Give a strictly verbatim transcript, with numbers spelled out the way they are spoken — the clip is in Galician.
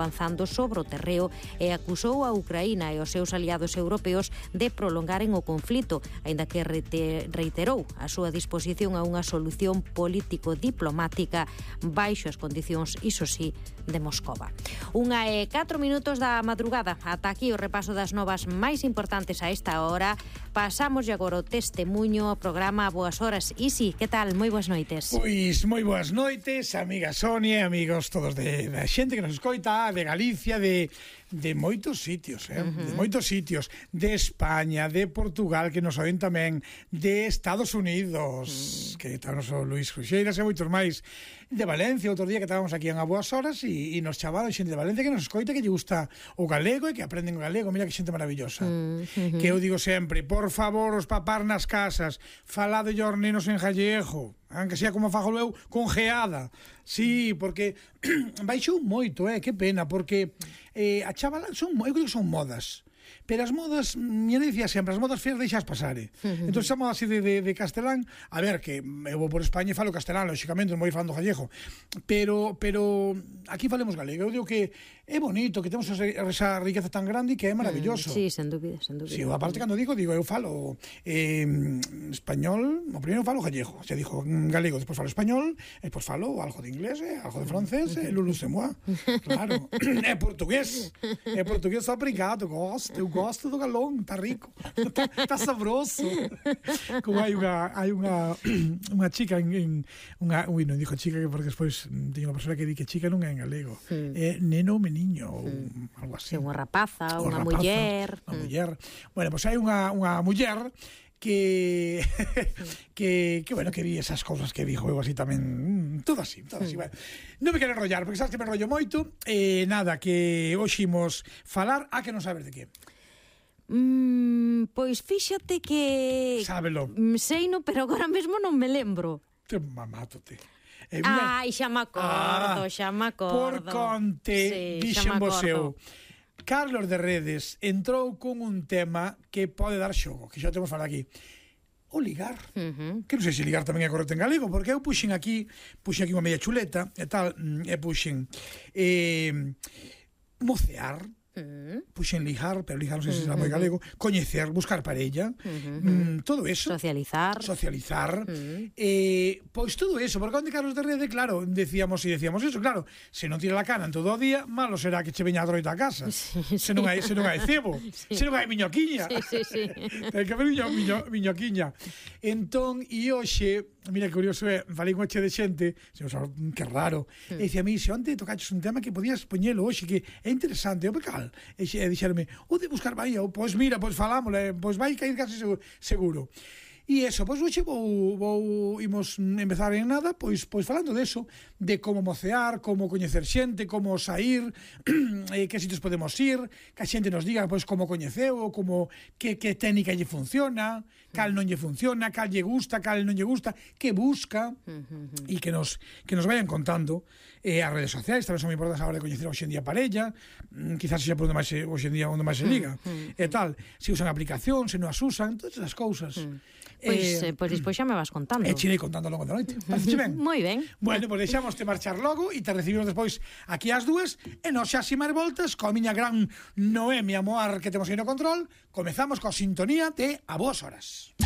avanzando sobre o terreo e acusou a Ucraína e os seus aliados europeos de prolongaren o conflito, aínda que reiterou a súa disposición a unha solución político-diplomática baixo as condicións, iso sí, de Moscova. Unha e catro minutos da madrugada. Ata aquí o repaso das novas máis importantes a esta hora. Pasamos agora o testemunho, o programa Boas Horas. Isi, que tal? Moi boas noites. Pois moi boas noites, amiga Sonia, amigos todos de, da xente que nos escoita, de Galicia, de, de moitos sitios, eh? Uh-huh. de moitos sitios, de España, de Portugal, que nos oen tamén, de Estados Unidos, uh-huh. que está o noso Luis Cruxeiras e moitos máis, de Valencia, outro día que estábamos aquí en A Boas Horas e, e nos chavaron xente de Valencia que nos escoita, que lle gusta o galego e que aprenden o galego. Mira que xente maravillosa. Uh-huh. Que eu digo sempre, por favor, os papás nas casas, falade os nenos en gallego, aunque sea como fago eu, con geada. Sí, porque baixou moito, eh, que pena, porque eh, a chavala son, eu creo que son modas. Pero as modas, mi decía sempre, as modas feas deixas pasar, eh? Uh-huh. Entón, esa moda así de, de, de castelán, a ver, que eu vou por España e falo castelán, lógicamente, non vou falando gallego, pero, pero aquí falemos galego. Eu digo que é bonito, que temos esa riqueza tan grande e que é maravilloso. Sí, sen dúbida, sen dúbida. Sí, aparte, cando digo, digo, eu falo eh, español, o primeiro falo gallego, xa dixo galego, despois falo español, e despois falo algo de inglés, eh, algo de francés, e eh, lulu se moi, claro. É portugués, é portugués obrigado, gosto, eu gosto do galón, está rico, está, está sabroso. Como hai unha hai unha unha chica en, en unha, ui, non dixo chica porque despois teño unha persona que di que chica non é en galego, mm. é neno ou meniño ou mm. algo así. É unha rapaza, ou unha rapaza, muller. Unha mm. muller. Bueno, pois pues hai unha unha muller que que que bueno, que vi esas cousas que dijo eu así tamén, todo así, todo así. Mm. Bueno, non me quero enrollar, porque sabes que me enrollo moito. Eh, nada, que hoxe imos falar, a que non sabes de que. Mm, pois fíxate que... Sábelo. Seino, pero agora mesmo non me lembro. Te mamátote. Eh, Ai, xa me acordo, ah, xa me acordo. Por conte, sí, dixen vos eu. Carlos de Redes entrou con un tema que pode dar xogo, que xa temos falado aquí. O ligar. Uh-huh. Que non sei se ligar tamén é correcto en galego, porque eu puxen aquí, puxen aquí unha media chuleta e tal, e puxen eh, mocear. Uh-huh. Puxen ligar, pero ligar non sei se será moi galego, coñecer, buscar parella, uh-huh. mm, todo eso, socializar socializar uh-huh. eh, pois todo eso, porque onde Carlos de Rede, claro, decíamos e decíamos eso, claro, se non tira la cana en todo o día, malo será que che veña a droita a casa, sí, sí. se non hai se non hai cebo, sí. se non hai miñoquiña, sí, sí, sí. ten que haber miño, miño, miñoquiña. Entón, e hoxe, mira que curioso é, falei con che de xente, se nos, que raro, uh-huh. e dicía a mí, se onte tocaches un tema que podías poñelo hoxe, que é interesante, o pecal. E dixerme, o de buscar Bahía, pois mira, pois falámosle, pois vai cair casi seguro. E eso, pois hoxe vou, vou imos empezar en nada, pois pois falando de eso, de como mocear, como coñecer xente, como sair, eh, que sitios podemos ir, que a xente nos diga pois como coñeceu, como que, que técnica lle funciona, cal non lle funciona, cal lle gusta, cal non lle gusta, que busca, e que nos que nos vayan contando. Eh, as redes sociais tamén son moi importantes a hora de coñecer hoxe en día parella, mm, quizás xa por onde máis hoxe en día onde máis se liga, e tal, se usan aplicación, se non as usan, todas esas cousas. Pois, eh, pois despois xa me vas contando. E chirei contando logo da noite. Parece ben? Moi ben. Bueno, pois deixamos te marchar logo e te recibimos despois aquí ás dúas e nos xa ximar voltas coa miña gran Noemia Moar que temos aí no control. Comezamos coa sintonía de A Boas Horas.